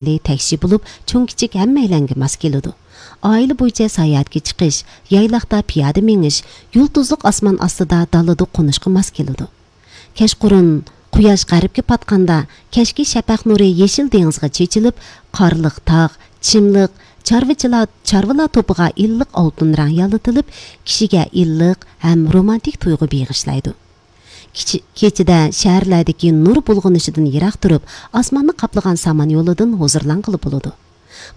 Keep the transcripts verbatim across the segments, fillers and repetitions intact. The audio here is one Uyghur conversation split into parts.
تەكشى بولۇپ، چوڭ-كىچىك ھەممەيلەنگە ماس كېلىدۇ. ئائىلە بويىچە ساياھەتكە چىقىش، يايلاقتا پىيادە مېڭىش، يۇلتۇزلۇق ئاسمان ئاستىدا دالىدا قونۇشقا ماس كېلىدۇ. كەچقۇرۇن قۇياش غەربكە پاتقاندا، كەچكى شەپەق نۇرى يېشىل دېڭىزغا چېچىلىپ، قارلىق تاغ، چىملىق، چارۋىچىلار، چارۋىلار توپىغا ئىللىق ئالتۇن رەڭ يالىتىلىپ، كىشىگە ئىللىق ھەم رومانتىك تۇيغۇ بېغىشلايدۇ. كىچى-، كېچىدە شەھەرلەردىكى نۇر بۇلغىنىشىدىن يىراق تۇرۇپ، ئاسماننى قاپلىغان سامان يولىدىن ھۇزۇرلانغىلى بولىدۇ.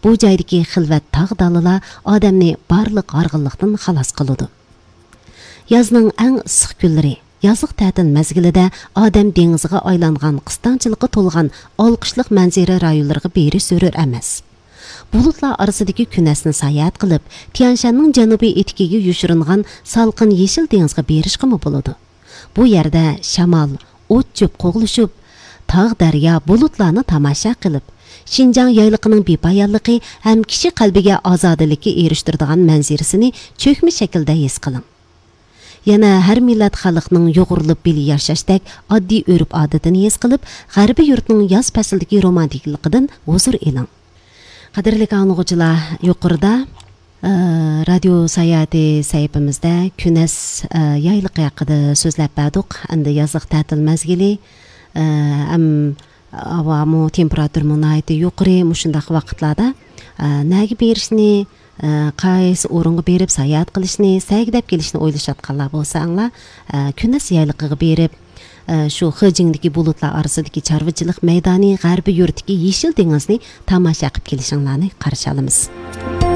بۇ جايدىكى خىلۋەت تاغ دالىلار ئادەمنى بارلىق ھارغىنلىقتىن خالاس قىلىدۇ. يازنىڭ ئەڭ ئىسسىق كۈنلىرى، يازلىق تەتىل مەزگىلىدە ئادەم دېڭىزغا ئايلانغان قىستاڭچىلىققا تولغان ئالقىشلىق مەنزىرە رايونلىرىغا بېرىش زۆرۈر ئەمەس. بۇلۇتلار ئارىسىدىكى كۈنەسنى ساياھەت قىلىپ، تيەنشاننىڭ جەنۇبىي ئېتىكىگە يوشۇرۇنغان سالقىن يېشىل دېڭىزغا بېرىشقىمۇ بولىدۇ. بۇ يەردە شامال، ئوت-چۆپ قوغلىشىپ، تاغ-دەريا، بۇلۇتلارنى تاماشا قىلىپ، شىنجاڭ يايلىقىنىڭ بىپايانلىقى ھەم كىشى قەلبىگە ئازادىلىككە ئېرىشتۈرىدىغان مەنزىرىسىنى چۆكمە شەكىلدە ھېس قىلىڭ. يەنە ھەر مىللەت خەلقنىڭ يۇغۇرۇلۇپ بىللە ياشاشتەك ئاددىي ئۆرپ-ئادىتىنى ھېس قىلىپ، غەربىي يۇرتنىڭ ياز پەسلىدىكى رومانتىكىلىقىدىن ھۇزۇر ئېلىڭ. قەدىرلىك ئاڭلىغۇچىلار، يۇقىرىدا، ئە، رادىيو ساياھىتى سەھىپىمىزدە كۈنەس، ئە، يايلىقى ھەققىدە سۆزلەپ بەردۇق. ئەمدى يازلىق تەتىل مەزگىلى، ئە، ھەم ھاۋامۇ، تېمپېراتۇرىمۇ ناھايىتى يۇقىرى. مۇشۇنداق ۋاقىتلاردا، ئە، نەگە بېرىشنى، ئە، قايسى ئورۇنغا بېرىپ ساياھەت قىلىشنى، سەگىدەپ كېلىشنى ئويلىشىۋاتقانلار بولساڭلار، ئە، كۈنەس يايلىقىغا بېرىپ، ئە، شۇ خېجىڭدىكى بۇلۇتلار ئارىسىدىكى چارۋىچىلىق مەيدانى، غەربىي يۇرتتىكى يېشىل دېڭىزنى تاماشا قىلىپ كېلىشىڭلارنى قارشى ئالىمىز.